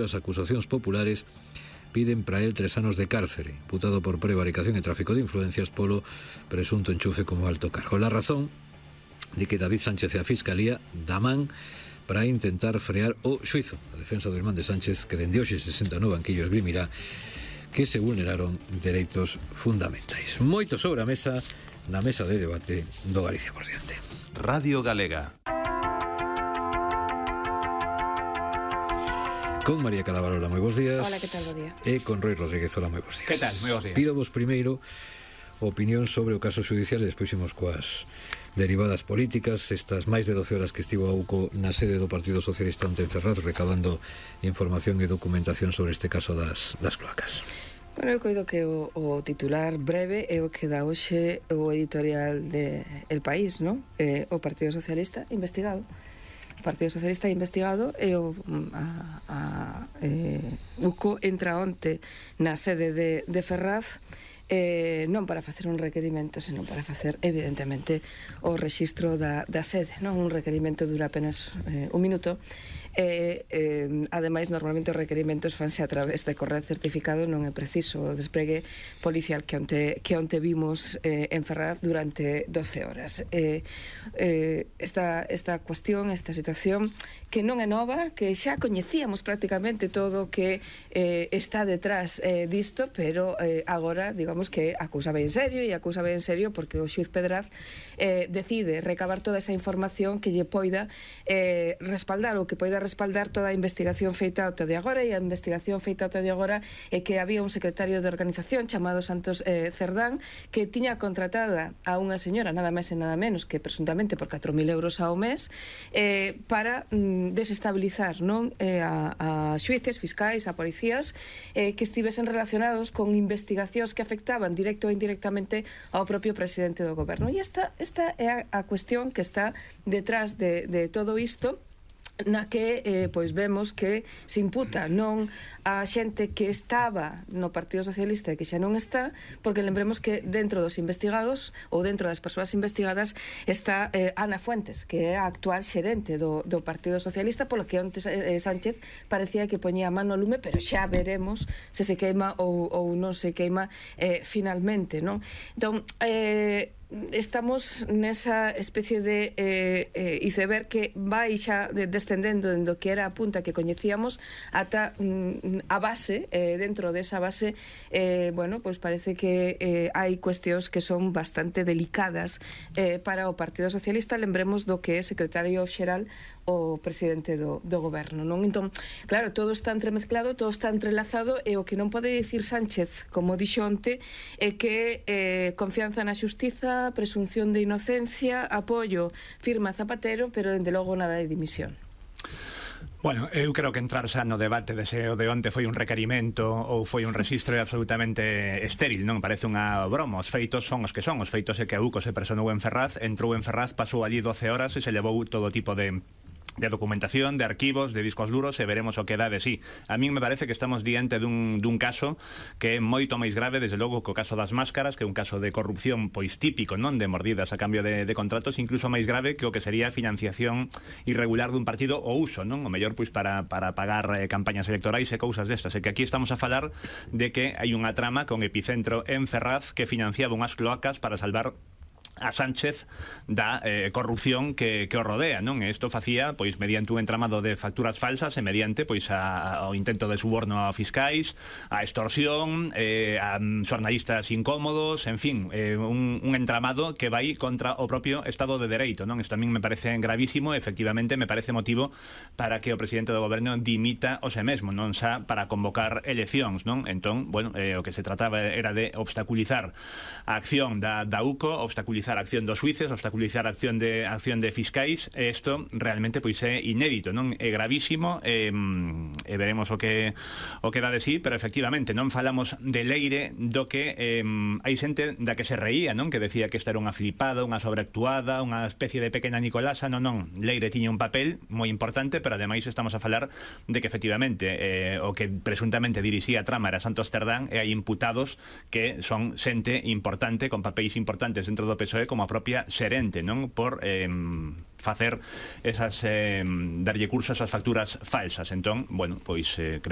As acusacións populares piden para él 3 anos de cárcere, imputado por prevaricación e tráfico de influencias polo presunto enchufe como alto cargo. La razón de que David Sánchez e a Fiscalía da man para intentar frear o xuizo. A defensa do irmán de Sánchez, que dende hoxe se senta no banquillo, esgrimirá que se vulneraron dereitos fundamentais. Moito sobre a mesa na mesa de debate do Galicia por diante. Radio Galega. Con María Cadaval, moi bons días. Hola, que tal, bo día. E con Roi Rodríguez, hola, moi bons días. Que tal, moi bons días. Pido vos primeiro opinión sobre o caso judicial e despois imos coas derivadas políticas. Estas máis de 12 horas que estivo a UCO na sede do Partido Socialista onte en Ferraz recabando información e documentación sobre este caso das cloacas. Bueno, eu coido que o titular breve é o que dá hoxe o editorial de El País, non? O Partido Socialista investigado. O Partido Socialista investigado e o UCO entra onte na sede de Ferraz non para facer un requerimento, senón para facer, evidentemente, o rexistro da sede, non? Un requerimento dura apenas un minuto. Ademais, normalmente os requerimentos fanse a través de correo certificado, non é preciso o despregue policial que onte vimos en Ferraz durante 12 horas. Esta cuestión, esta situación que non é nova, que xa coñecíamos prácticamente todo o que está detrás disto, pero agora, digamos que acusa ben serio porque o xuiz Pedraz decide recabar toda esa información que lle poida respaldar ou que poida respaldar toda a investigación feita ata de agora, e a investigación feita ata de agora é que había un secretario de organización chamado Santos Cerdán que tiña contratada a unha señora nada máis e nada menos que presuntamente por 4.000 euros ao mes para desestabilizar, non, a xuíces, fiscais, a policías que estivesen relacionados con investigacións que afectaban directo ou indirectamente ao propio presidente do goberno. E esta é a cuestión que está detrás de todo isto, na que pois vemos que se imputa non a xente que estaba no Partido Socialista e que xa non está, porque lembremos que dentro dos investigados ou dentro das persoas investigadas está Ana Fuentes, que é a actual xerente do Partido Socialista, polo que onte Sánchez parecía que poñía a mano ao lume, pero xa veremos se queima ou non se queima finalmente, non? Entón, estamos nesa especie de iceberg que vai xa descendendo dentro que era a punta que coñecíamos ata a base, dentro desa base bueno, pois parece que hai cuestións que son bastante delicadas para o Partido Socialista. Lembremos do que é secretario xeral o presidente do goberno, non? Entón, claro, todo está entremezclado, todo está entrelazado, e o que non pode dicir Sánchez, como dixo onte, é que confianza na xustiza, presunción de inocencia, apoio, firma Zapatero, pero dende logo nada de dimisión. Bueno, eu creo que entrar xa no debate de se o de onte foi un requerimento ou foi un rexistro é absolutamente estéril, non? Parece unha broma. Os feitos son os que son. Os feitos é que a UCO se personou en Ferraz, entrou en Ferraz, pasou allí 12 horas e se levou todo tipo de documentación, de arquivos, de discos duros, e veremos o que dá de sí. A min me parece que estamos diante dun caso que é moito máis grave, desde logo, co caso das máscaras, que é un caso de corrupción pois típico, non, de mordidas a cambio de contratos, incluso máis grave que o que sería a financiación irregular dun partido o uso, non? O mellor pois para pagar campañas electorais e cousas destas. E que aquí estamos a falar de que hai unha trama con epicentro en Ferraz que financiaba unhas cloacas para salvar a Sánchez da corrupción que o rodea, non? E isto facía pois mediante un entramado de facturas falsas e mediante pois ao intento de suborno a fiscais, a extorsión, a xornalistas incómodos, en fin, un entramado que vai contra o propio Estado de Dereito, non? Isto a min me parece gravísimo, efectivamente me parece motivo para que o presidente do goberno dimita o se mesmo, non xa para convocar eleccións, non? Entón, bueno, o que se trataba era de obstaculizar a acción da UCO, obstaculizar a acción dos xuíces, obstaculizar a acción de fiscais, e isto realmente pois é inédito, non? É gravísimo, e veremos o que dá de sí, pero efectivamente non falamos de Leire do que hai xente da que se reía, non? Que decía que esta era unha flipada, unha sobreactuada, unha especie de pequena Nicolasa. Non, Leire tiña un papel moi importante, pero ademais estamos a falar de que efectivamente o que presuntamente dirixía a trama era Santos Cerdán, e hai imputados que son xente importante, con papéis importantes dentro do PSOE, como a propia xerente, non? Por facer esas darlle curso a esas facturas falsas. Entón, bueno, pois